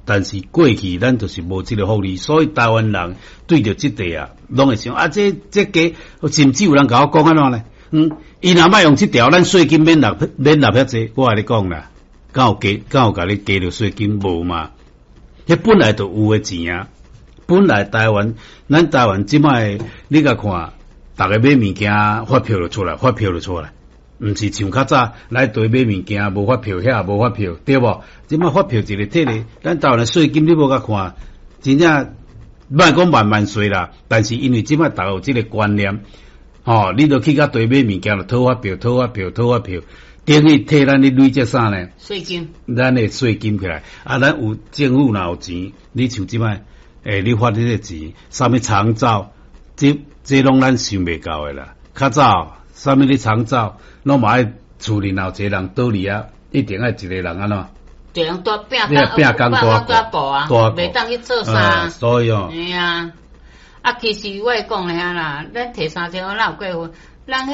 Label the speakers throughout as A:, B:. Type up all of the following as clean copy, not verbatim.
A: 但是過去咱就是無這個福利，所以台灣人對著這塊啊，攏會想啊，這這加，甚至有人共我講按怎呢？伊若莫用這條，咱稅金免納免納遐濟，我共你講啦，敢有加敢有共你加著稅金無嘛？彼本來就有的錢啊，本來台灣，咱台灣這擺你共看，逐个買物件發票就出來，發票就出來。毋是像較早來對買物件無發票，遐無發票，對無？這擺發票一个摕咧，咱台灣的稅金你無共看，真正莫講萬萬稅啦，但是因為這擺逐个有這個觀念，吼，你著去甲對買物件就討發票、討發票、討發票，等於替咱咧累積啥呢？
B: 稅金。
A: 咱的稅金起來，啊，咱有政府若有錢，你像這擺，你發這个錢，啥物長照，這這攏咱想袂到的啦。較早啥物咧長照，攏嘛愛厝裡若有一個人倒佇遐，一定愛一個人按怎？
B: 一個人帶拼
A: 拼工
B: 大顧啊，袂當去做啥。
A: 所以哦。
B: 嘿啊，啊，其實我會講遐啦，咱提三千塊哪有過分？人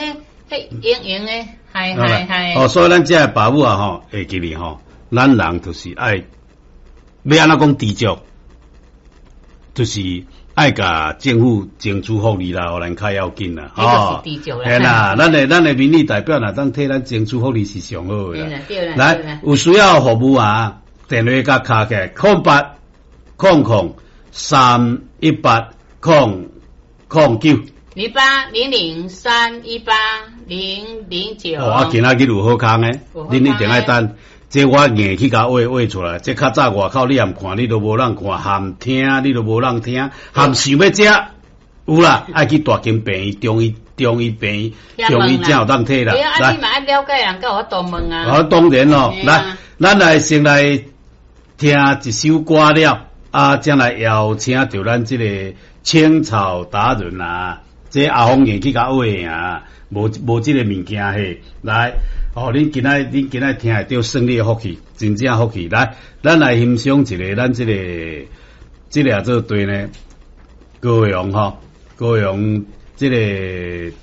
B: 彼彼閒閒的，係係係。
A: 哦，所以咱這个爸母啊吼，會記得吼，咱人就是愛欲按怎講知足，就是愛共政府爭取福利啦，予咱較要緊啦，
B: 吼。
A: 嘿啦，咱的民意代表若當替咱爭取福利是上好的啦。來，有需要服務啊，電話共敲起來，08000318009。
B: 0800318009。
A: 哦，啊，今仔日有好康的，恁一定愛等。這我硬去共畫畫出來，這較早外口你含看，你都無人看；含聽，你都無人聽；含想欲食，有啦，愛去大間病院、中醫、中醫病院、中醫才有當提啦。
B: 來，啊，你嘛愛了解人，才有法度問啊。
A: 哦，當然咯，來，咱來先來聽一首歌了，啊，才來邀請著咱這個青草達人啊，這阿峰硬去共畫啊，無無這個物件嘿，來。哦，恁今仔聽會著算你的福氣，真正福氣。來，咱來欣賞一个咱這个這个做對呢，高雄吼，高雄這个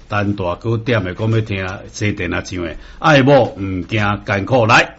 A: 陳大哥點的，講欲聽西電仔唱的，愛某毋驚艱苦來。